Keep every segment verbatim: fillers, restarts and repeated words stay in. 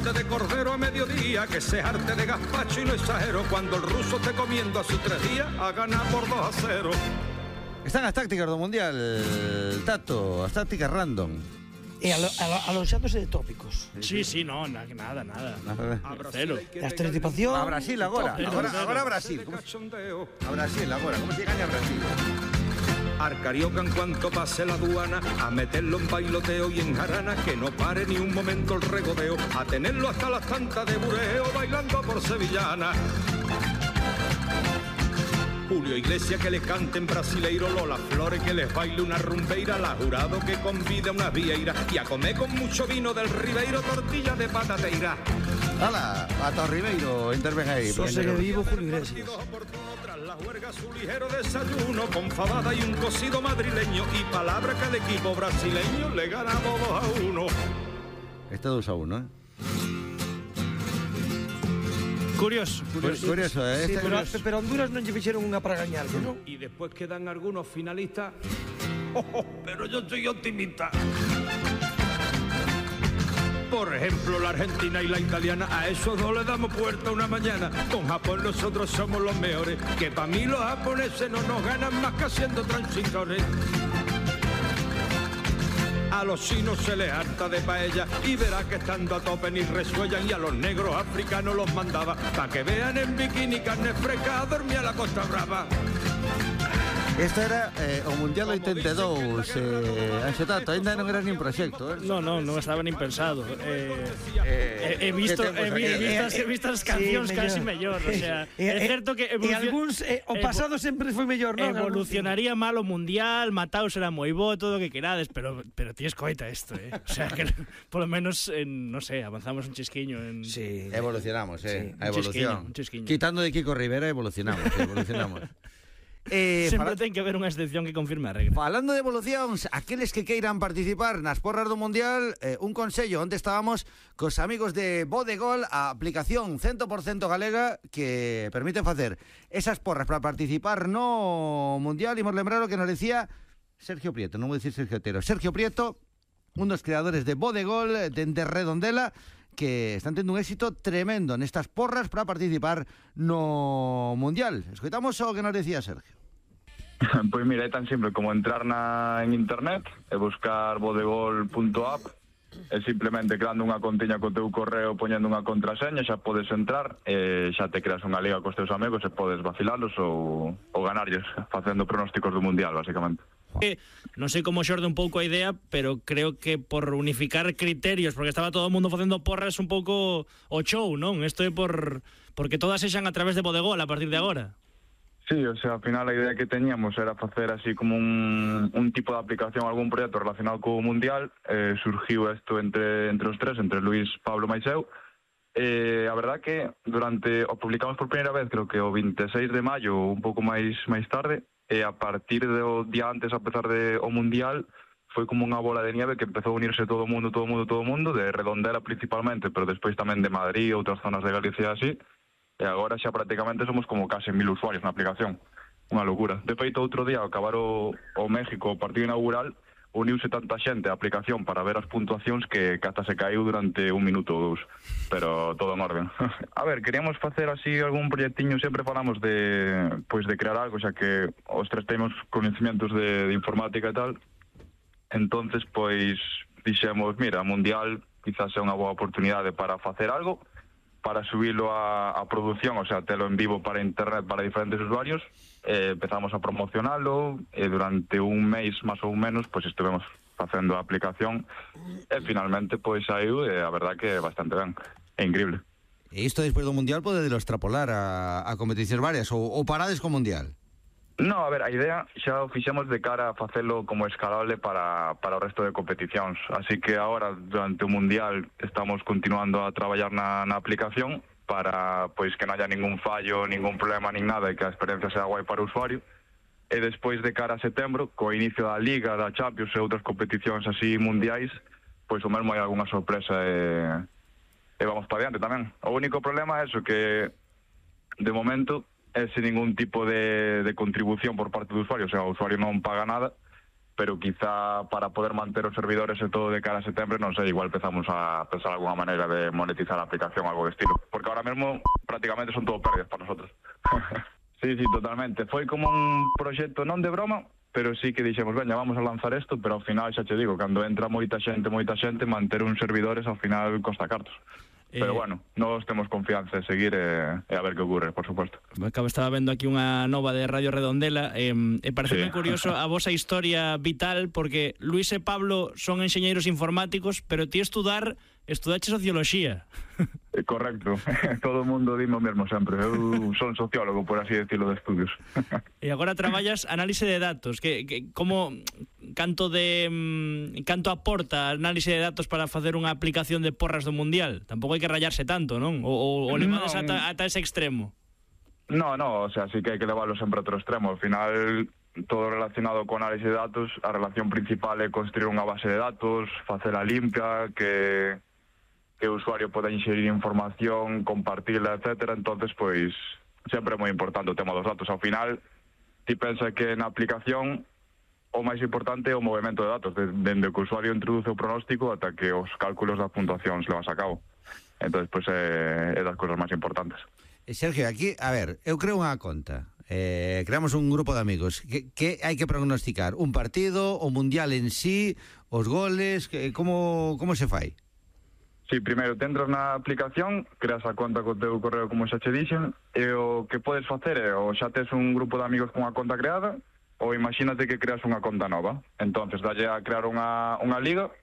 filete de cordero a mediodía, que se arte de gazpacho y no exagero, cuando el ruso esté comiendo a sus tres días, a ganar por dos a cero. Están as tácticas do Mundial, Tato, as tácticas random. E alo, alo, alonxándose de tópicos. Sí, sí, no, na, nada, nada. nada. Cero. A estereotipación. A Brasil agora, agora, agora a Brasil. ¿Cómo? A Brasil agora, como se gaña a Brasil? Al carioca en cuanto pase la aduana, a meterlo en bailoteo y en jarana, que no pare ni un momento el regodeo, a tenerlo hasta las tantas de bureo, bailando por sevillana. Julio Iglesias que le cante en brasileiro, Lola Flores que les baile una rumbeira, la Jurado que convida una vieira y a comer con mucho vino del Ribeiro tortilla de patateira. Hala, Tato Ribeiro, intervenga aí. Sosegue vivo Julio Iglesias. Tras la huelga su ligero desayuno con fabada y un cocido madrileño y palabra que al equipo brasileño le ganamos dos a uno. Este dos a uno, ¿eh? Curioso, curioso. Curioso, eh? Sí, Este pero, curioso. pero Honduras non lle fixeron unha para gañar, non? Y después quedan algunos finalistas. Oh, oh, pero yo soy optimista. Por ejemplo, la Argentina y la italiana, a esos dos le damos puerta una mañana. Con Japón nosotros somos los mejores, que para mí los japoneses no nos ganan más que haciendo transitores. A los chinos se les harta de paella y verá que estando a tope ni resuellan, y a los negros africanos los mandaba pa' que vean en bikini carne fresca a dormir a la Costa Brava. Este era eh, o Mundial oitenta e dous, eh, Anxo Tato, ainda non era nin proxecto, eh? No, no, non estaba nin pensado. Eh, Eh, he, he visto, que he, tempos vi- aqueles. vistas, he visto as cancións Sí, casi mellor. mellor. O sea, E- é e- certo que E evolucion- algúns, eh, o evo- pasado sempre foi mellor, non? evolucionaría mal o Mundial, Mataos era moi bo, todo o que querades, pero pero ti escoita isto, eh? O sea, que polo menos, en, no sé, avanzamos un chisquiño en... Sí. Evolucionamos, eh? Sí, a un chisquiño, evolución. un chisquiño. Quitando de Kiko Rivera, evolucionamos, evolucionamos. Eh, Sempre fala- ten que haber unha excepción que confirme a regra. Falando de evolucións, aqueles que queiran participar nas porras do Mundial, eh, un consello, onde estábamos cos amigos de Bodegol, a aplicación cen por cento galega que permite facer esas porras para participar no Mundial. Imos lembrar o que nos decía Sergio Prieto, non vou dicir Sergio Otero, Sergio Prieto, un dos creadores de Bodegol, dende Redondela, que están tendo un éxito tremendo nestas porras para participar no Mundial. Escoitamos o que nos decía Sergio. Pois mira, é tan simple como entrar na, en internet e buscar bodegol punto app e simplemente creando unha contiña co teu correo, poñendo unha contraseña, xa podes entrar e xa te creas unha liga cos teus amigos e podes vacilalos ou, ou ganarlles facendo pronósticos do Mundial, basicamente. Eh, non sei como xorde un pouco a idea, pero creo que por unificar criterios, porque estaba todo o mundo facendo porras un pouco o show, non? Isto é por porque todas sexan a través de Bodegol a partir de agora. Sí, o sea, ao final a idea que teñíamos era facer así como un, un tipo de aplicación, algún proxecto relacionado co Mundial. Eh, surgiu isto entre, entre os tres, entre Luís, Pablo e eu. Eh, a verdad que durante, o publicamos por primeira vez, creo que o vinte e seis de maio, un pouco máis máis tarde, e a partir do día antes, a pesar de o Mundial, foi como unha bola de nieve que empezou a unirse todo o mundo, todo o mundo, todo o mundo, de Redondela principalmente, pero despois tamén de Madrid, outras zonas de Galicia así. E agora xa prácticamente somos como case mil usuarios na aplicación. Unha locura. De feito, outro día, ao acabar o, o México, o partido inaugural, uniuse tanta xente á aplicación para ver as puntuacións que, que ata se caiu durante un minuto ou dous. Pero todo en orden. A ver, queríamos facer así algún proxectiño, sempre falamos de, pois, de crear algo, xa que os tres temos conhecimentos de, de informática e tal. Entonces, pois, dixemos, mira, Mundial quizás é unha boa oportunidade para facer algo, para subilo a, a produción, o sea, telo en vivo para internet para diferentes usuarios. Eh, empezamos a promocionalo e durante un mes máis ou menos pois estivemos facendo a aplicación e finalmente pois saiu e a verdad que é bastante ben, é increíble. E isto despois do Mundial pode de extrapolar a, a competicións varias ou, ou parades co Mundial? No, a ver, a idea xa o fixemos de cara a facelo como escalable para, para o resto de competicións. Así que agora, durante o Mundial, estamos continuando a traballar na, na aplicación para pois que non haya ningún fallo, ningún problema, nin nada, e que a experiencia sea guai para o usuario. E despois de cara a setembro, co inicio da Liga, da Champions e outras competicións así mundiais, pois o mesmo hai algunha sorpresa e, e vamos para diante tamén. O único problema é eso, que de momento é sin ningún tipo de, de contribución por parte do usuario, o sea, o usuario non paga nada, pero quizá para poder manter os servidores e todo de cara a setembro, non sei, igual empezamos a pensar alguna maneira de monetizar a aplicación, algo de estilo, porque ahora mesmo prácticamente son todo pérdidas para nosotros. Sí, sí, totalmente. Foi como un proxecto non de broma, pero sí que dixemos, veña, vamos a lanzar isto, pero ao final, xa te digo, cando entra moita xente, moita xente, manter uns servidores ao final costa cartos. Pero Eh, bueno, nós temos confianza en seguir e, e a ver que ocurre, por suposto. Acabo, estaba vendo aquí unha nova de Radio Redondela e, e pareceme Sí. curioso a vosa historia vital, porque Luis e Pablo son enxeñeiros informáticos, pero ti estudar, estudache socioloxía. Eh, Correcto. Todo o mundo dime o mesmo sempre. Eu son sociólogo, por así decirlo, de estudios. E agora traballas análise de datos. Que, que como canto de mm, canto aporta a análise de datos para facer unha aplicación de porras do Mundial? Tampouco hai que rayarse tanto, non? O, o, o levades Non. ata, ata ese extremo. No, no, o sea, sí que hai que levarlo sempre a outro extremo. Al final, todo relacionado con análisis de datos, a relación principal é construir unha base de datos, facela limpia, que que o usuario poda inserir información, compartila, etcétera. Entonces, pois, sempre é moi importante o tema dos datos. Ao final, ti pensa que na aplicación o máis importante é o movimento de datos, dende que o usuario introduce o pronóstico ata que os cálculos da puntuación se levas a cabo. Entonces, pois, é, é das cousas máis importantes. Eh, Sergio, aquí, a ver, eu creo unha conta. Eh, creamos un grupo de amigos. Que, que hai que prognosticar? Un partido, o Mundial en sí, os goles, que, como, como se fai? Sí, primeiro, te entras na aplicación, creas a conta co teu correo como xa che dixen, e o que podes facer é, ou xa tes un grupo de amigos con a conta creada, ou imagínate que creas unha conta nova. Entonces, dalle a crear unha, unha liga,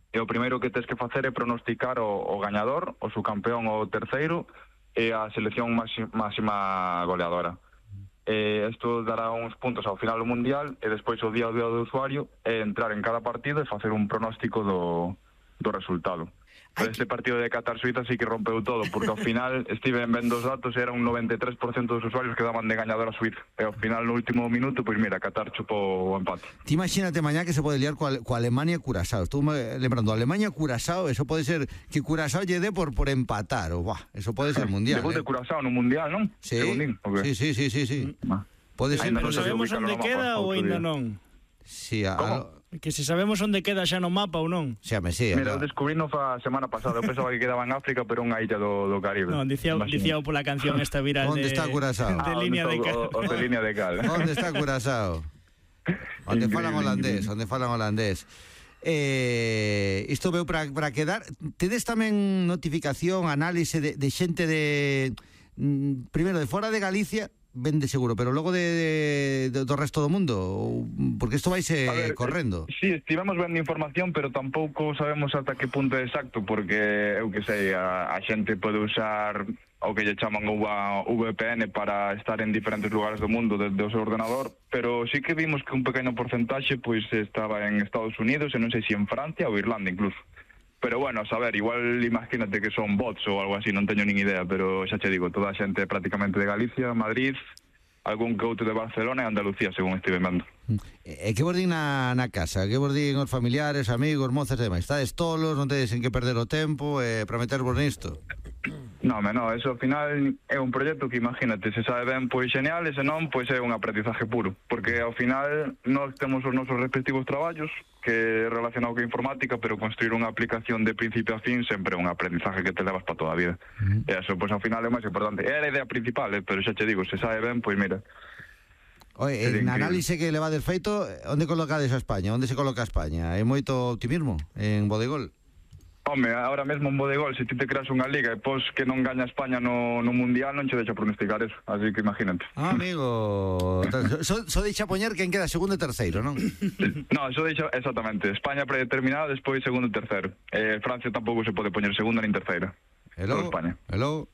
e o primeiro que tes que facer é pronosticar o, o gañador, o subcampeón ou o terceiro, e a selección máxima, máxima goleadora. E isto dará uns puntos ao final do Mundial, e despois o día ao día do usuario é entrar en cada partido e facer un pronóstico do, do resultado. Pero este partido de Qatar-Suiza sí que rompeu todo, porque ao final estive vendo os datos e era un noventa e tres por cento dos usuarios que daban de gañador a Suiza. E ao final, no último minuto, pois mira, Qatar chupou o empate. Ti imagínate mañá que se pode liar coa, coa Alemania e Curazao. Estou me- lembrando, Alemania e Curazao, eso pode ser que Curazao lle dé por, por empatar. O, buah, eso pode ser mundial. Debut eh. de Curazao no Mundial, non? Sí, Segundín, o que? sí, sí, sí, sí, sí. Ah. Pode ser. Ainda Pero non sei sabemos ubicarlo onde no mapa, queda ou outro aínda día. non? Sí, a, Como? a, Que se sabemos onde queda xa no mapa ou non? xa me sí. Mira, eu a- descubrí no fa semana pasada. Eu pensaba que quedaba en África, pero unha illa do, do Caribe. Non, dicía, Imagina. dicía pola canción esta viral Onde de, está Curazao? de Ah, línea de onde está cal. o- o de línea de cal. Onde está Curazao? Onde falan Increíble, holandés, increíble. onde falan holandés. Eh, isto veu para para quedar. Tedes tamén notificación, análise de, de xente de mm, primeiro de fora de Galicia, ben de seguro, pero logo de, de do resto do mundo, ou- porque isto vaise A ver, correndo. eh, Sí, estivemos vendo información, pero tampouco sabemos ata que punto é exacto, porque eu que sei, a, a xente pode usar o que lle chaman unha V P N para estar en diferentes lugares do mundo desde o seu ordenador, pero sí que vimos que un pequeno porcentaxe pois estaba en Estados Unidos e non sei se en Francia ou Irlanda incluso. Pero bueno, a saber, igual imagínate que son bots ou algo así, non teño nin idea, pero xa che digo, toda a xente prácticamente de Galicia, Madrid, algún que outro de Barcelona e Andalucía, según estive vendo. E que vos din na, na casa? Que vos din os familiares, amigos, mozas e demais? Estades tolos, non tedes en que perder o tempo e para metervos nisto? No, me no, eso ao final é un proxecto que imagínate, se sabe ben, pois genial, e se non, pois é un aprendizaje puro, porque ao final nós temos os nosos respectivos traballos que é relacionado con informática, pero construir unha aplicación de principio a fin sempre é un aprendizaje que te levas para toda a vida. Uh-huh. E eso, pois ao final é o máis importante. É a idea principal, eh, pero xa che digo, se sabe ben, pois mira. Oye, Sería en increíble. análise que le va del feito, onde colocades a España? Onde se coloca a España? Hai moito optimismo en Bodegol? Home, ahora mesmo en Bodegol, se ti te creas unha liga e pos que non gaña España no, no Mundial, non che deixa pronosticar eso, así que imagínate. Ah, amigo, so, so deixa poñer quen queda segundo e terceiro, non? No, eso deixa exactamente, España predeterminada, despois segundo e terceiro. Eh, Francia tampouco se pode poñer segunda nin terceira. Hello, Solo España. hello.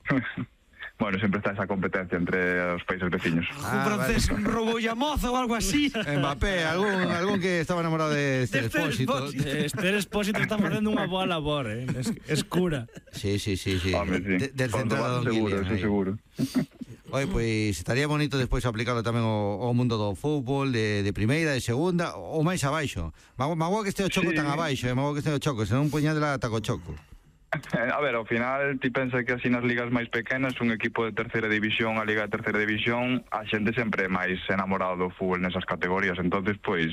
Bueno, sempre está esa competencia entre os países veciños. Un francés roubolle a moza ou algo así. Mbappé, algún, algún que estaba enamorado de Esther De Esther Expósito. Expósito. Esther Expósito está facendo unha boa labor, eh? Es, es cura. Sí, sí, sí, sí. Home, sí. De, del Cuanto central más Don seguro, Guillén, eso aí. seguro. Oye, pois estaría bonito despois aplicarlo tamén ao, ao mundo do fútbol, de, de primeira, de segunda, ou máis abaixo. Mago, mago que este o choco Sí. tan abaixo, eh? Mago que este o choco, senón puñadela taco choco. A ver, ao final, ti pensa que así nas ligas máis pequenas, un equipo de terceira división, a liga de terceira división, a xente sempre é máis enamorado do fútbol nesas categorías, entonces, pois,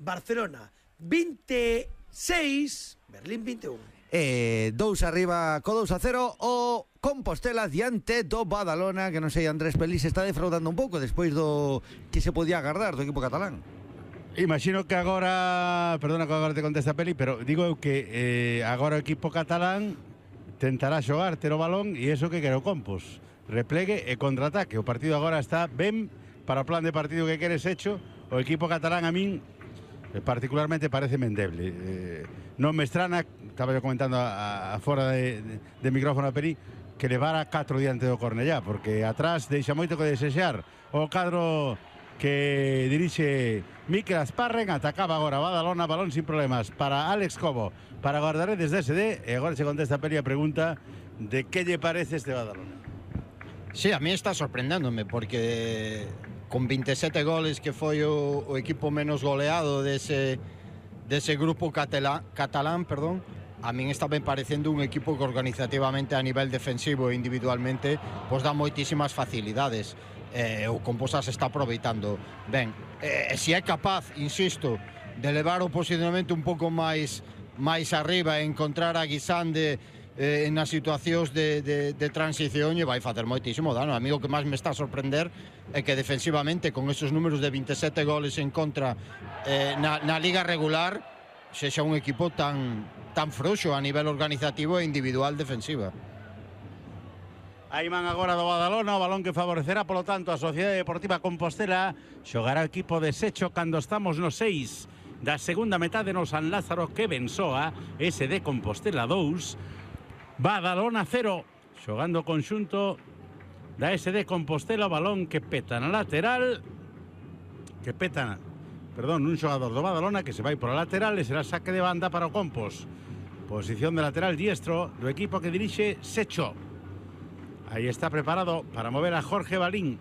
Barcelona vinte e seis, Berlín vinte e un. Eh, dous arriba co dous a cero o Compostela diante do Badalona, que non sei, Andrés Pelís está defraudando un pouco despois do que se podía agardar do equipo catalán. Imagino que agora, perdona que agora te contesta Peli, pero digo eu que eh, agora o equipo catalán tentará xogar, ter o balón, e iso que quere o Compos, replegue e contraataque. O partido agora está ben para o plan de partido que queres hecho. O equipo catalán a min eh, particularmente parece endeble. Eh, non me estrana, estaba yo comentando a, a fora de, de, de micrófono a Peli, que levara catro diante do Cornellá, porque atrás deixa moito que desexar. O cadro que dirixe Mikel Asparren, atacaba agora Badalona, balón sin problemas para Alex Cobo, para Guardaredes de S D, e agora se contesta Peli a pregunta de que lle parece este Badalona. Sí, a mí está sorprendéndome, porque con veintisiete goles, que foi o, o equipo menos goleado dese, dese grupo catalán, catalán, perdón, a min está ben parecendo un equipo que organizativamente a nivel defensivo e individualmente pois dá moitísimas facilidades. Eh, o Composas está aproveitando ben. Eh, se é capaz, insisto, de levar o posicionamento un pouco máis máis arriba e encontrar a Guisande eh, nas situacións de, de, de transición, e vai facer moitísimo dano. A mí o que máis me está a sorprender é que defensivamente, con esos números de veintisiete goles en contra eh, na, na liga regular, sexa un equipo tan, tan frouxo a nivel organizativo e individual defensiva. Aí man agora do Badalona, o balón que favorecerá, polo tanto, a Sociedade Deportiva Compostela. Xogará o equipo de Secho cando estamos no seis da segunda metade no San Lázaro, que Bensoa, S D Compostela dous, Badalona cero. Xogando o conxunto da S D Compostela, o balón que peta na lateral, que peta, perdón, un xogador do Badalona que se vai por a lateral e será saque de banda para o Compos. Posición de lateral diestro do equipo que dirixe Secho. Aí está preparado para mover a Jorge Balín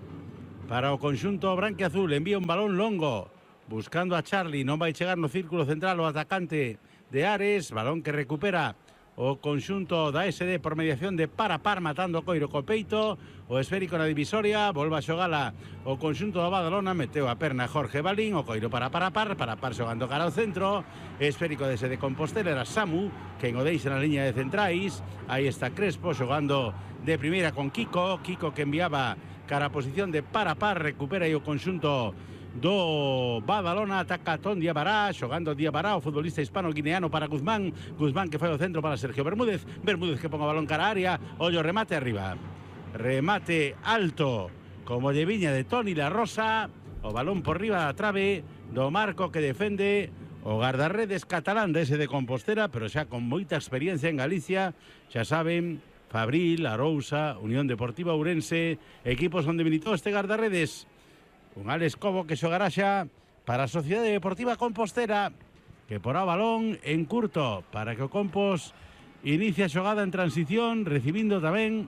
para o conxunto branquiazul. Envía un balón longo buscando a Charlie, non vai chegar no círculo central o atacante de Ares. Balón que recupera o conxunto da S D por mediación de Parapar, matando o coiro co peito. O esférico na divisoria, volva a xogala o conxunto da Badalona, meteu a perna Jorge Balín, o coiro para Parapar, Parapar xogando cara ao centro. Esférico de S D Compostela, era Samu quen o deixa na liña de centrais. Aí está Crespo xogando de primeira con Kiko, Kiko que enviaba cara a posición de Parapar, recupera aí o conxunto do Badalona, ataca Ton Diabará, xogando Diabará, o futbolista hispano-guineano para Guzmán, Guzmán que fai o centro para Sergio Bermúdez, Bermúdez que pon o balón cara a área, ollo remate arriba, remate alto, como lle viña de Toni La Rosa, o balón por riba da trave do marco que defende o guardarredes catalán de S D Compostela, pero xa con moita experiencia en Galicia, xa saben, Fabril, Arousa, Unión Deportiva Ourense, equipos onde militou este guardarredes. Un Alex Cobo que xogará xa para a Sociedade Deportiva Compostela, que porá o balón en curto para que o Compos inicie a xogada en transición, recibindo tamén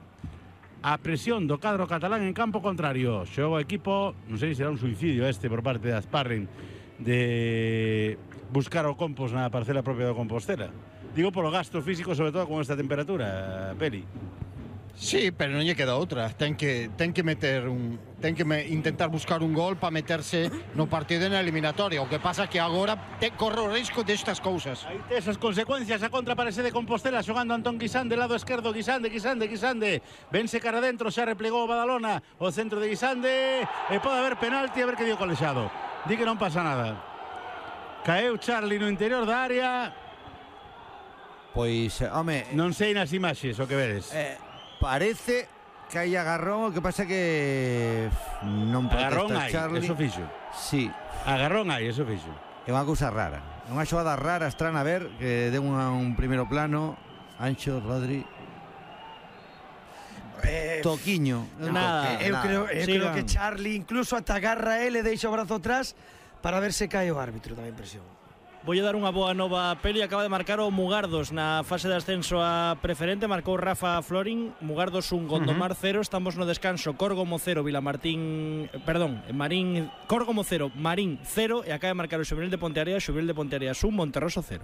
a presión do cadro catalán en campo contrario. Xoga o equipo, non sei se será un suicidio este por parte de Asparren de buscar o Compos na parcela propia do Compostela. Digo polo gasto físico, sobre todo con esta temperatura, Peli. Sí, pero non lle queda outra. Ten que, ten que meter un, ten que me, intentar buscar un gol para meterse no partido na eliminatoria. O que pasa que agora te corre o risco destas cousas. Aí te esas consecuencias, a contra parece de Compostela, xogando Antón Guisande, lado esquerdo, Guisande, Guisande, Guisande. Vense cara adentro, xa replegou o Badalona, o centro de Guisande, e pode haber penalti, a ver que dio colexado. Di que non pasa nada. Caeu Charlie no interior da área. Pois, home, non sei nas imaxes o que vedes. Eh, parece que hai agarrón, o que pasa que non agarrón protesta hai, Charlie. eso fixo. Sí. Agarrón hai, eso fixo. É unha cousa rara. É unha xogada rara, estrana, a ver, que deu un, un primeiro plano. Ancho, Rodri. Eh, Toquiño. No, nada, eu nada. creo, eu creo Sigan. que Charlie incluso ata agarra ele, deixa o brazo atrás para ver se cae o árbitro, dá a impresión. Vou dar unha boa nova a Peli. Acaba de marcar o Mugardos na fase de ascenso a preferente. Marcou Rafa Florin. Mugardos un, Gondomar cero. Estamos no descanso. Córgomo cero, Vilamartín... Perdón, Marín... Córgomo cero, Marín cero. E acaba de marcar o Xuvenil de Ponteareas. Xuvenil de Ponteareas un, Monterroso cero.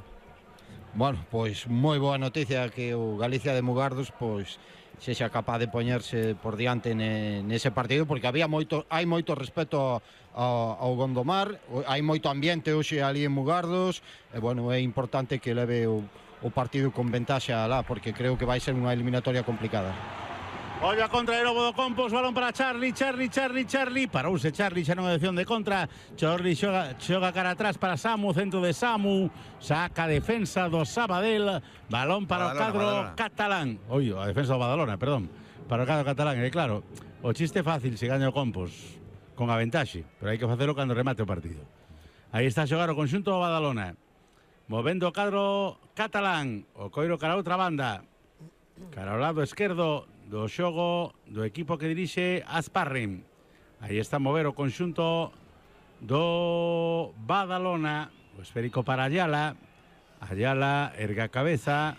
Bueno, pois moi boa noticia que o Galicia de Mugardos pois sexa capaz de poñerse por diante ne, nese partido, porque había moito, hai moito respeto ao, ao Gondomar, hai moito ambiente hoxe ali en Mugardos, e bueno, é importante que leve o, o partido con ventaxa alá, porque creo que vai ser unha eliminatoria complicada. Ollo a contra de Lobo do Compos, balón para Charlie, Charlie, Charlie, Charlie. Parouse Charlie, xa non é opción de contra. Charlie xoga, xoga cara atrás para Samu, centro de Samu. Saca a defensa do Sabadell. Balón para Badalona, o cadro Badalona. catalán. Oi, a defensa do Badalona, perdón. Para o cadro catalán, e claro, o chiste fácil se gaña o Compos con a ventaxe, pero hai que facelo cando remate o partido. Aí está a xogar o conxunto do Badalona. Movendo o cadro catalán. O coiro cara a outra banda. Cara ao lado esquerdo do xogo do equipo que dirixe Asparrim. Aí está a mover o conxunto do Badalona. O esférico para Ayala. Ayala erga a cabeza.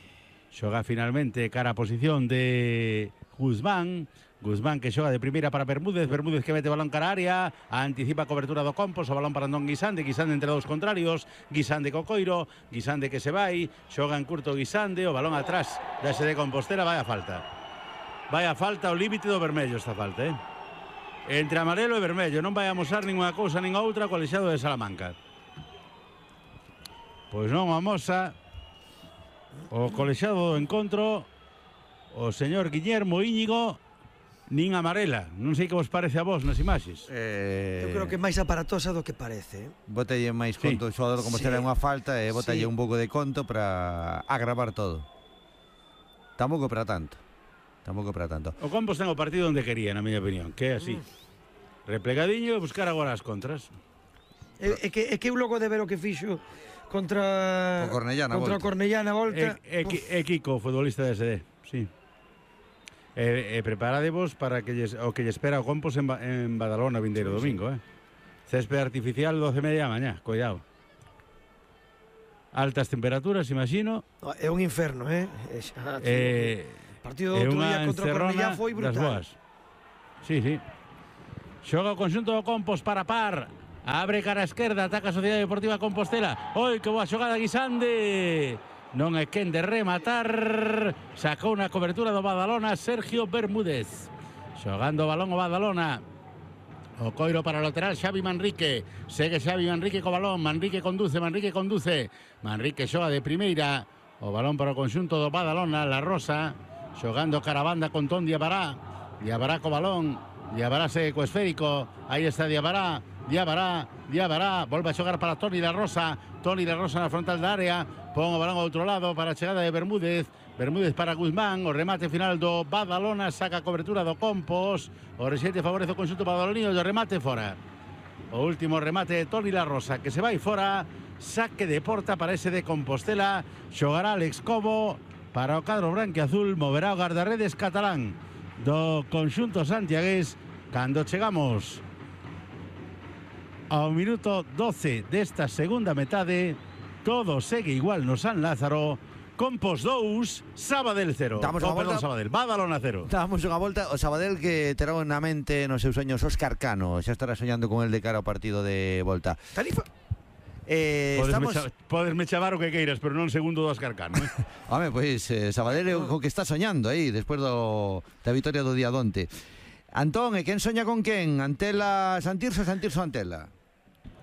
Xoga finalmente cara a posición de Guzmán. Guzmán que xoga de primeira para Bermúdez. Bermúdez que mete balón cara a área. Anticipa a cobertura do Compos. O balón para Andón Guisande. Guisande entre dous contrarios. Guisande co coiro. Guisande que se vai. Xoga en curto Guisande. O balón atrás da S D Compostela. Vai a falta. Vai a falta, o límite do vermello esta falta, eh? Entre amarelo e vermello. Non vai a amosar ninguna cousa nin outra co Colexiado de Salamanca. Pois non amosa o Colexiado do encontro o señor Guillermo Íñigo nin amarela. Non sei que vos parece a vos nas imaxes. Eh... Eu creo que é máis aparatosa do que parece. Bótalle máis conto sí. O xogador como sí. Será unha falta e bótalle sí. Un pouco de conto para agravar todo. Tampouco para tanto. Tampouco para tanto. O Compos ten o partido onde quería, na miña opinión, que é así. Mm. Replegadiño e buscar agora as contras. É, é que é que eu logo de ver o que fixo contra o Cornellana contra volta. Cornellana volta. É, é, é Kiko, futbolista de S D, sí. E, e preparadevos para que lles, o que lle espera o Compos en, en Badalona vindeiro sí, domingo, sí. eh. Césped artificial doce e media da mañá, cuidado. Altas temperaturas, imagino. No, é un inferno, eh. É, xa, eh o partido do outro día contra o Cornellá foi brutal. Sí, sí. Xoga o conxunto do Compos para par. Abre cara a esquerda, ataca a Sociedade Deportiva Compostela. Oi, que boa xogada Guisande. Non é quen de rematar. Sacou unha cobertura do Badalona Sergio Bermúdez. Xogando o balón o Badalona. O coiro para o lateral Xavi Manrique. Segue Xavi Manrique co balón. Manrique conduce, Manrique conduce. Manrique xoga de primeira. O balón para o conxunto do Badalona, La Rosa. Xogando caravanda con Ton Diabará. Diabará co balón. Diabará segue co esférico. Aí está Diabará. Diabará. Diabará. Volve a xogar para Toni La Rosa. Toni La Rosa na frontal da área. Pon o balón ao outro lado para a chegada de Bermúdez. Bermúdez para Guzmán. O remate final do Badalona. Saca a cobertura do Compos. O rexete favorece o conxunto badalonino. O remate fora. O último remate de Toni La Rosa que se vai fora. Saque de porta para ese de Compostela. Xogará Alex Cobo. Para o cadro branquiazul moverá o guardarredes catalán do conxunto santiagués cando chegamos ao minuto doce desta segunda metade. Todo segue igual no San Lázaro. Compos dous, Sabadell cero. Damos oh, unha perdón, volta. Sabadell, Badalona cero. Damos unha volta. O Sabadell que terá na mente nos seus soños Óscar Cano. Xa estará soñando con el de cara ao partido de volta. Tarifa. Eh, podesme, estamos... cha podesme chavar o que queiras, pero non segundo do Óscar Cano, eh? Home, pois, eh, Sabadell é o que está soñando aí, despois do, da vitoria do día donte. Antón, e quen soña con quen? Antela Santirso, Santirso Antela?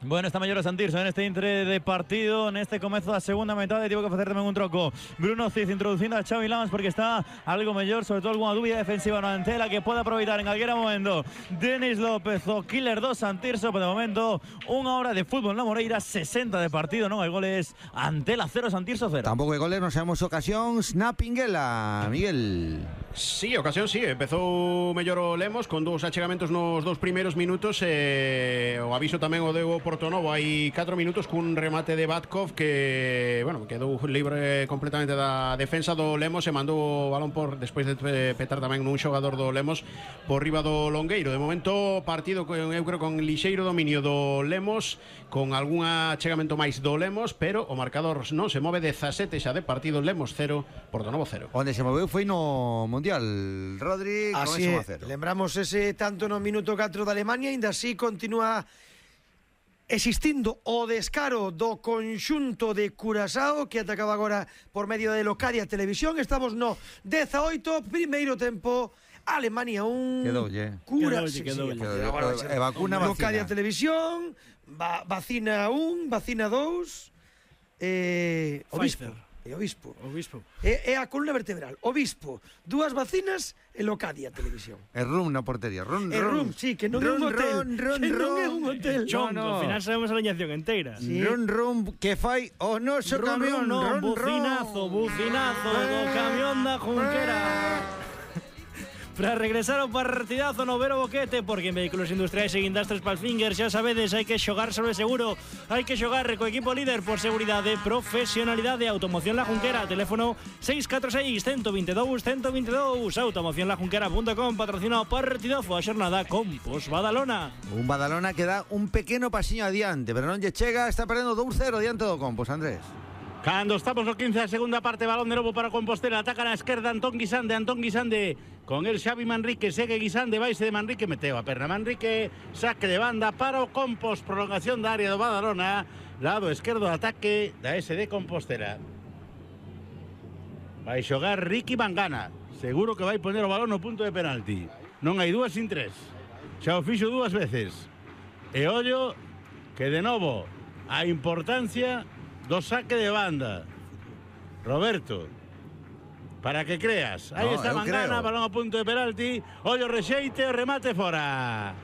Bueno, está mellor o Santirso en este intre de partido, neste comezo da segunda metade, tivo que facer tamén un troco Bruno Cid introducindo a Xavi Lamas porque está algo mellor, sobre todo algunha dúbida defensiva no Antela que pode aproveitar en calquera momento Denis López, o killer do Santirso, pero de momento unha hora de fútbol na Moreira, sesenta de partido, non hai goles. Antela cero, Santirso cero. Tampouco hai goles, non sabemos ocasións na Pinguela, Miguel. Sí, ocasión sí, empezou mellor o Lemos con dous achegamentos nos dous primeiros minutos e o aviso tamén o deu o Portonovo hai catro minutos cun remate de Batkov que, bueno, quedou libre completamente da defensa do Lemos e mandou o balón por despois de petar tamén nun xogador do Lemos por riba do Longueiro. De momento partido con, eu creo con lixeiro dominio do Lemos, con algún achegamento máis do Lemos, pero o marcador non se move. Dezasete xa de partido, Lemos cero, Portonovo cero. Onde se moveu foi no Mundial. Rodri, así é, lembramos ese tanto no minuto catro de Alemania, ainda así continúa existindo o descaro do conxunto de Curazao que atacaba agora por medio de Locadia Televisión. Estamos no dezaoito, primeiro tempo, Alemania un, Quedoulle. Cura, Quedoulle, sí, quedoulle. sí, Quedoulle. agora, E vacuna, Locadia vacina. Televisión, va, vacina un, vacina dous, eh, Obispo. Pfizer. E Obispo. Obispo. É, é a columna vertebral. Obispo, dúas vacinas e Locadia Televisión. E rum na portería. Rum, E rum, sí, que non é un Rum, hotel. rum, rum, Que non é rum. un hotel. Chongo, no. ao final sabemos a aliñación inteira. Sí. Rum, rum, que fai o noso Ron, camión. ron, non, Rum, rum. bucinazo, bucinazo do camión da Junquera. Para regresar ao partidazo no Vero Boquete, porque en Vehículos Industriais e Guindastres Palfinger xa sabedes, hai que xogar sobre seguro, hai que xogar co equipo líder por seguridade, profesionalidade. Automoción La Junquera, teléfono seis catro seis, uno dos dous, uno dos dous. automoción la junquera punto com, patrocina o partidazo a xornada Compos Badalona. Un Badalona que dá un pequeno pasiño adiante, pero non lle chega, está perdendo dous cero diante do Compos, Andrés. Cando estamos no quince da segunda parte, balón de novo para Compostela, ataca na esquerda Antón Guisande, Antón Guisande con el Xavi Manrique, segue Guisande, vaise de Manrique, meteu a perna Manrique, saque de banda para o Compos, prolongación da área do Badalona, lado esquerdo de ataque da S D Compostela. Vai xogar Ricky Mangana, seguro que vai poner o balón no punto de penalti. Non hai dúas sin tres, xa o fixo dúas veces. E ollo que de novo a importancia do saque de banda. Roberto, para que creas. Aí No, está eu Mangana, creo. balón a punto de penalti. Ollo rexeite, o remate fora.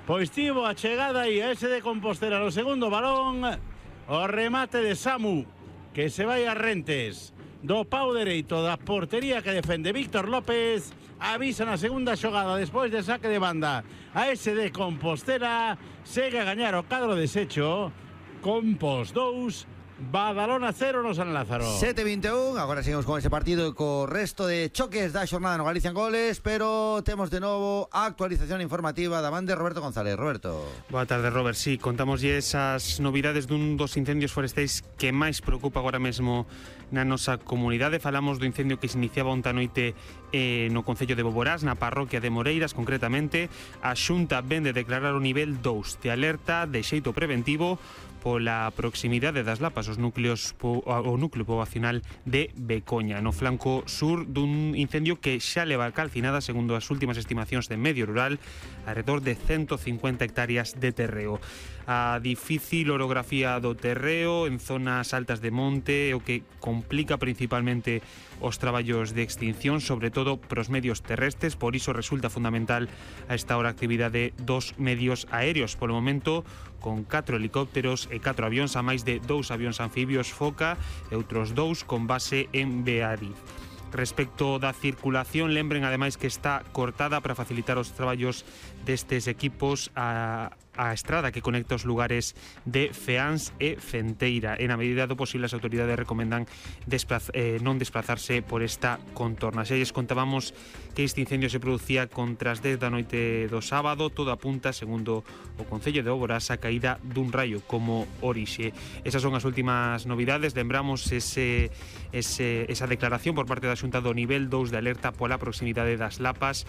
Pois tivo a chegada aí a ese de Compostela no segundo balón. O remate de Samu, que se vai a Rentes. Do pau dereito da portería que defende Víctor López. Avisa na segunda xogada despois de saque de banda. A ese de Compostela segue a gañar o cadro deshecho. Compos dous, Badalona cero no San Lázaro. sete veintiuno, agora seguimos con ese partido e co resto de choques da xornada no Galicia en Goles, pero temos de novo a actualización informativa da man de Roberto González. Roberto. Boa tarde, Robert. Sí, contámoslle esas novidades dun dos incendios forestais que máis preocupa agora mesmo na nosa comunidade. Falamos do incendio que se iniciaba onta noite eh, no Concello de Boborás, na parroquia de Moreiras, concretamente. A Xunta ven de declarar o nivel dous de alerta de xeito preventivo pola proximidade das lapas os núcleos po, o núcleo poboacional de Becoña, no flanco sur dun incendio que xa leva calcinada, segundo as últimas estimacións de Medio Rural, alrededor de ciento cincuenta hectáreas de terreo. A difícil orografía do terreo en zonas altas de monte, o que complica principalmente os traballos de extinción, sobre todo pros medios terrestres, por iso resulta fundamental a esta hora a actividade dos medios aéreos. Polo momento, con catro helicópteros e catro avións, a máis de dous avións anfibios Foca e outros dous con base en Beariz. Respecto da circulación, lembren ademais que está cortada para facilitar os traballos destes equipos a, a estrada que conecta os lugares de Feáns e Fenteira. En a medida do posible, as autoridades recomendan desplaz, eh, non desplazarse por esta contorna. Xa lles contábamos que este incendio se producía contra as dez da noite do sábado. Todo apunta, segundo o Concello de Boborás, a caída dun raio como orixe. Esas son as últimas novidades. Lembramos ese, ese, esa declaración por parte da Xunta do nivel dous de alerta pola proximidade das lapas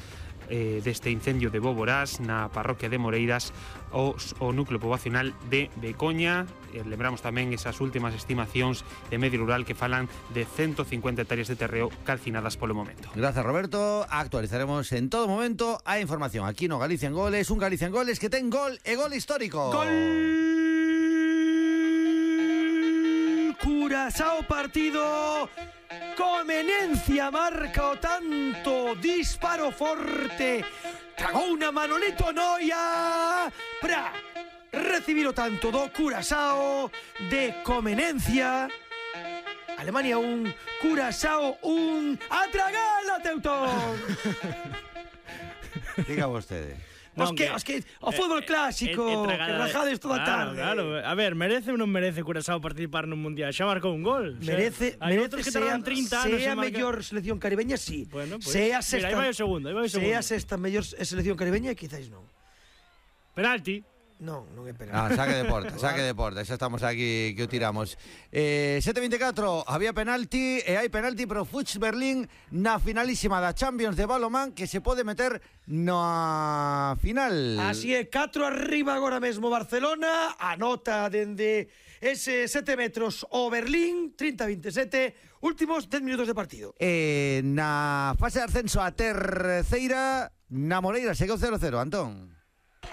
eh, deste incendio de Boborás na parroquia de Moreiras, o, o núcleo poboacional de Becoña. Eh, lembramos tamén esas últimas estimacións de Medio Rural que falan de ciento cincuenta hectáreas de terreo calcinadas polo momento. Gracias, Roberto. Actualizaremos en todo momento a información aquí no Galicia en Goles, un Galicia en Goles que ten gol e gol histórico. Gol Curazao partido. Comenencia marca o tanto, disparo forte, tragou una Manolito Noia para recibir o tanto do Curazao de Comenencia. Alemania un, Curazao un, a tragala, Teutón. Diga vostede. Os Non, que, que- os que, o fútbol clásico, É- é que tragada de- rajades toda a Claro, tarde. Claro, a ver, merece ou non merece Curazao participar nun mundial? Xa marcou un gol. Xa- Merece, hai merece outros que sea, tardan trinta anos sea en marcar. mellor selección caribeña, sí. Bueno, pues, sea mira, sexta, aí vai o segundo, aí vai o segundo. sea sexta mellor selección caribeña, quizáis non. Penalti. Non, non é penal. Ah, saque de porta, saque de porta. Xa estamos aquí que o tiramos. Eh, sete vinte e catro, había penalti e hai penalti pro Fuchs Berlín na finalísima da Champions de balonmán que se pode meter na final. Así é, catro arriba agora mesmo Barcelona, anota dende ese sete metros o Berlín, trinta a veintisiete, últimos dez minutos de partido. Eh, na fase de ascenso a terceira, na Moreira segueu cero cero, Antón.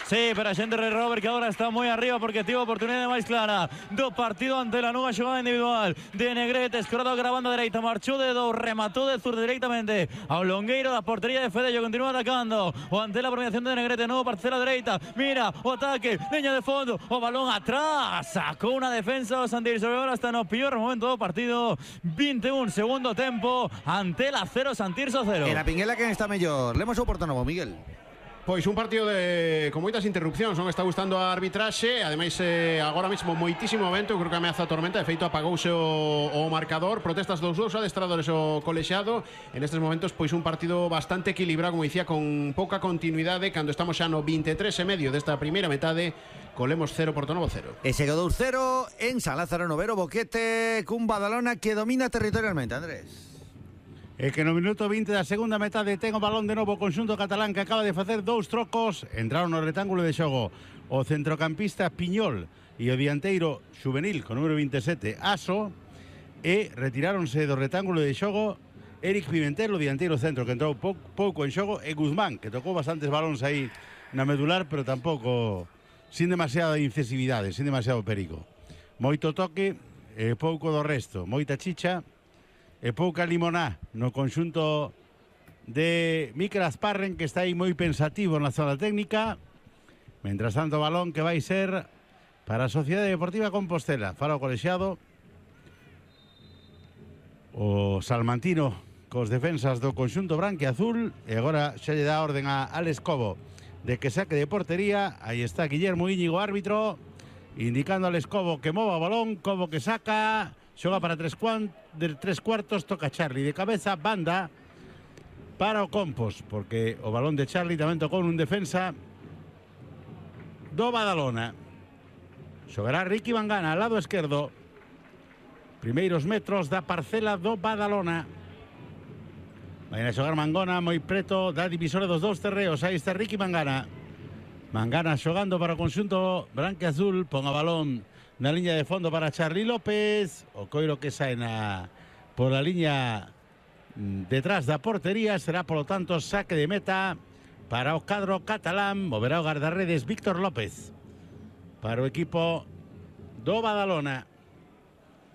Sí, pero a xente de Robert que agora está moi arriba porque tivo a oportunidade máis clara do partido ante la nunha xogada individual de Negrete, escorado a banda dereita, marchou de do, rematou de zurdo directamente ao longueiro da portería de Fedello, continúa atacando o ante la premiación de Negrete, novo parcela dereita, mira o ataque, leña de fondo, o balón atrás, sacou unha defensa o Santirso, agora está no pior momento do partido, veintiún segundo tempo, ante la cero, Santirso cero. E na Pinguela quen está mellor? Lemos o Porto Novo, Miguel. Pois un partido de con moitas interrupcións, non está gustando a arbitraxe, ademais eh, agora mesmo moitísimo vento, creo que ameaza a tormenta, de feito apagouse o, o marcador, protestas dos dous adestradores o colexiado, en estes momentos pois un partido bastante equilibrado, como dicía, con pouca continuidade, cando estamos xa no veintitrés e medio desta primeira metade, colemos cero, Porto Novo cero. E se quedou cero en San Lázaro Novero, Boquete cun Badalona que domina territorialmente, Andrés. E que no minuto vinte da segunda metade ten o balón de novo o conxunto catalán que acaba de facer dous trocos, entraron no retángulo de xogo o centrocampista Piñol e o dianteiro juvenil con número veintisiete Aso, e retiráronse do retángulo de xogo Eric Pimentel, o dianteiro centro que entrou pouco, pouco en xogo, e Guzmán, que tocou bastantes balóns aí na medular, pero tampouco sin demasiada incisividade, sin demasiado perigo. Moito toque e pouco do resto, moita chicha e pouca limoná no conxunto de Mikel Asparren, que está aí moi pensativo na zona técnica. Mentras tanto, balón que vai ser para a Sociedade Deportiva Compostela. Fala o colexiado, o salmantino cos defensas do conxunto branquiazul, e agora xa lle dá orden a Alex Cobo de que saque de portería. Aí está Guillermo Íñigo, árbitro, indicando a Alex Cobo que mova o balón. Cobo que saca, xoga para tres, cuan, de tres cuartos, toca Charlie de cabeza, banda para o Compos, porque o balón de Charlie tamén tocou nun defensa do Badalona. Xogará Ricky Mangana al lado esquerdo, primeiros metros da parcela do Badalona. Vai a xogar Mangona moi preto da divisora dos dous terreos. Aí está Ricky Mangana. Mangana xogando para o conxunto branquiazul, pon a balón na liña de fondo para Charly López, o coiro que sae na por a liña detrás da portería, será polo tanto saque de meta para o cadro catalán. Moverá o guardarredes Víctor López para o equipo do Badalona.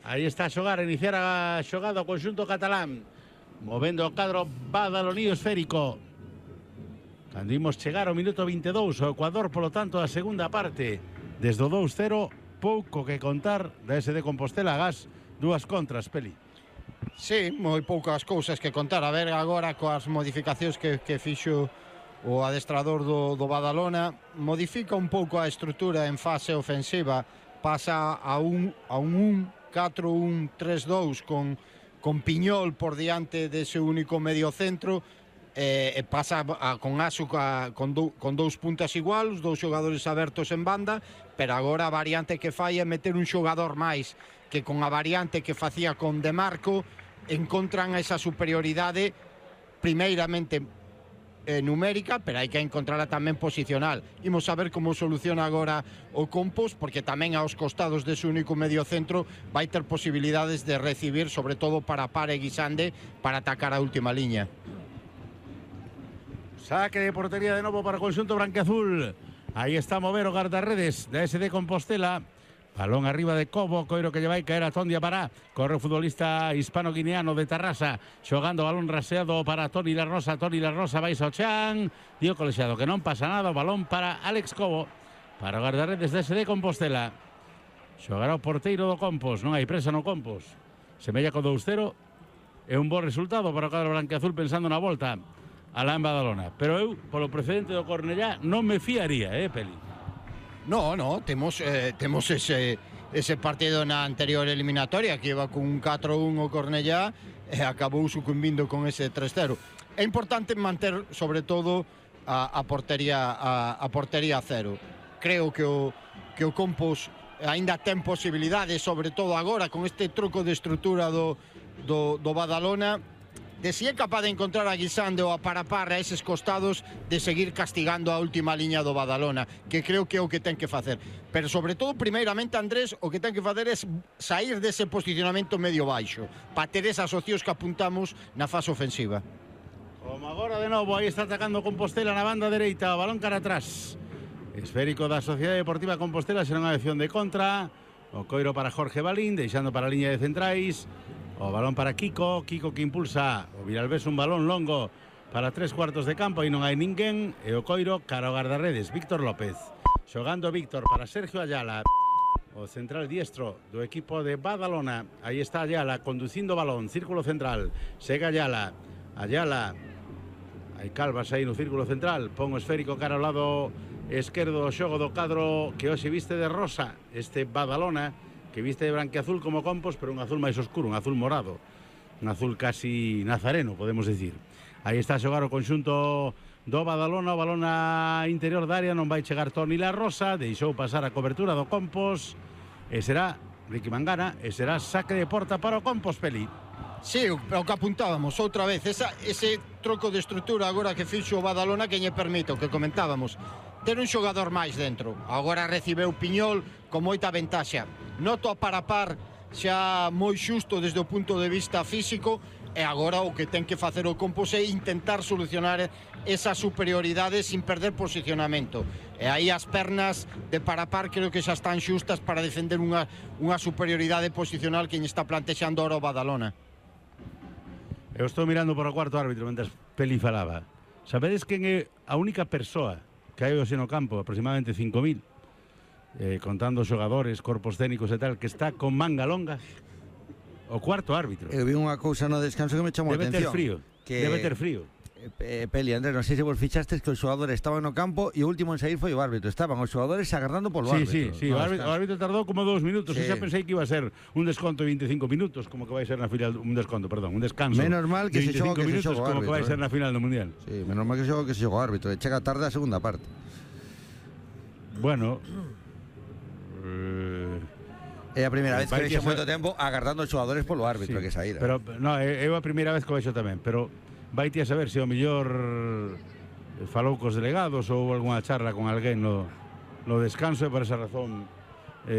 Aí está a xogar, a iniciar a xogada o conxunto catalán, movendo o cadro badalonío esférico. Cando imos chegar ao minuto veintidós, o Ecuador polo tanto a segunda parte, desde o dous cero, pouco que contar da S D Compostela Gas, dúas contras, Peli. Sí, moi poucas cousas que contar. A ver agora coas modificacións que, que fixo o adestrador do, do Badalona, modifica un pouco a estrutura en fase ofensiva, pasa a un a un un catro un tres dous con, con Piñol por diante dese único medio centro, e, e pasa a, con Asu a, con, do, con dous puntas igual, os dous xogadores abertos en banda, pero agora a variante que fai é meter un xogador máis, que con a variante que facía con De Marco encontran esa superioridade primeiramente eh, numérica, pero hai que encontrarla tamén posicional. Imos a ver como soluciona agora o Compos, porque tamén aos costados dese único medio centro vai ter posibilidades de recibir, sobre todo para Pare Guisande, para atacar a última liña. Saque de portería de novo para o conxunto branquiazul. Aí está a mover o guardarredes da S D Compostela. Balón arriba de Cobo, coiro que lle vai caer a Tondia Pará. Corre o futbolista hispano-guineano de Tarrasa, xogando balón raseado para Toni La Rosa. Toni La Rosa vai ao chan, dio colexiado que non pasa nada. O balón para Alex Cobo, para o guardarredes da S D Compostela. Xogará o porteiro do Compos, non hai presa no Compos. Semella co dous cero, é un bo resultado para o cadro branquiazul pensando na volta a la Badalona. Pero eu, polo precedente do Cornellá, non me fiaría, eh, Peli. No, no, temos, eh, temos ese, ese partido na anterior eliminatoria que iba con un catro un o Cornellá e acabou sucumbindo con ese tres cero. É importante manter, sobre todo, a, a portería a, a portería cero. creo que o, que o Compos aínda ten posibilidades, sobre todo agora con este truco de estrutura do, do, do Badalona, de si é capaz de encontrar a Guisande ou a Parapar a eses costados, de seguir castigando a última liña do Badalona, que creo que é o que ten que facer. Pero sobre todo, primeiramente, Andrés, o que ten que facer é sair dese posicionamento medio baixo, para ter esas opcións que apuntamos na fase ofensiva. Como agora de novo, aí está atacando Compostela na banda dereita, o balón cara atrás. Esférico da Sociedade Deportiva Compostela, será unha acción de contra. O coiro para Jorge Balín, deixando para a liña de centrais. O balón para Kiko, Kiko que impulsa o Viralbés, un balón longo para tres cuartos de campo e non hai ninguén. E o coiro cara ao guardarredes, Víctor López. Xogando Víctor para Sergio Ayala, o central diestro do equipo de Badalona. Aí está Ayala conducindo o balón, círculo central. Sega Ayala, Ayala. Hai Calvas aí no círculo central. Pon o esférico cara ao lado esquerdo do xogo do cadro que hoxe viste de rosa. Este Badalona que viste de branquiazul como Compos, pero un azul máis oscuro, un azul morado, un azul casi nazareno, podemos decir. Aí está a xogar o conxunto do Badalona, o balón a interior da área, non vai chegar Toni La Rosa, deixou pasar a cobertura do Compos, e será Ricky Mangana, e será saque de porta para o Compos, Peli. Sí, o que apuntábamos outra vez, esa, ese troco de estrutura agora que fixo o Badalona que lle permite, o que comentábamos, ter un xogador máis dentro. Agora recibeu Piñol con moita ventaxa. Noto a Parapar xa moi xusto desde o punto de vista físico, e agora o que ten que facer o Compos é intentar solucionar esa superioridade sin perder posicionamento. E aí as pernas de Parapar creo que xa están xustas para defender unha, unha superioridade posicional que lle está plantexando ahora o Badalona. Eu estou mirando por o cuarto árbitro mentre Peli falaba. Sabedes quen é a única persoa que hai hoxe no campo, aproximadamente cinco mil, eh, contando xogadores, corpos técnicos e tal, que está con manga longa? O cuarto árbitro. Eu vi unha cousa no descanso que me chamou a Debe atención. ter frío, que... debe ter frío. Eh, Peli, Andrés, non sei se vos fixastes que os xogadores estaban no campo e o último en sair foi o árbitro. Estaban os xogadores agardando polo Sí, árbitro. sí, sí, no o árbitro, o árbitro tardou como dous minutos. Sí. Eu xa pensei que iba a ser un desconto de veinticinco minutos, como que vai ser na final, un desconto, perdón, un descanso. Menos mal que de se xoga que se minutos, xoga o como que vai árbitro, ser eh. na final do Mundial. Sí, menos mal que xoga que se xoga o árbitro. E chega tarde a segunda parte. Bueno, eh, É a primeira vez que vai vexo que moito ser- tempo agardando os xogadores polo árbitro sí, que saíra. Pero no, é é a primeira vez que o vexo tamén, pero vai ti a saber se o mellor falou cos delegados ou algunha charla con alguén no, no descanso, e por esa razón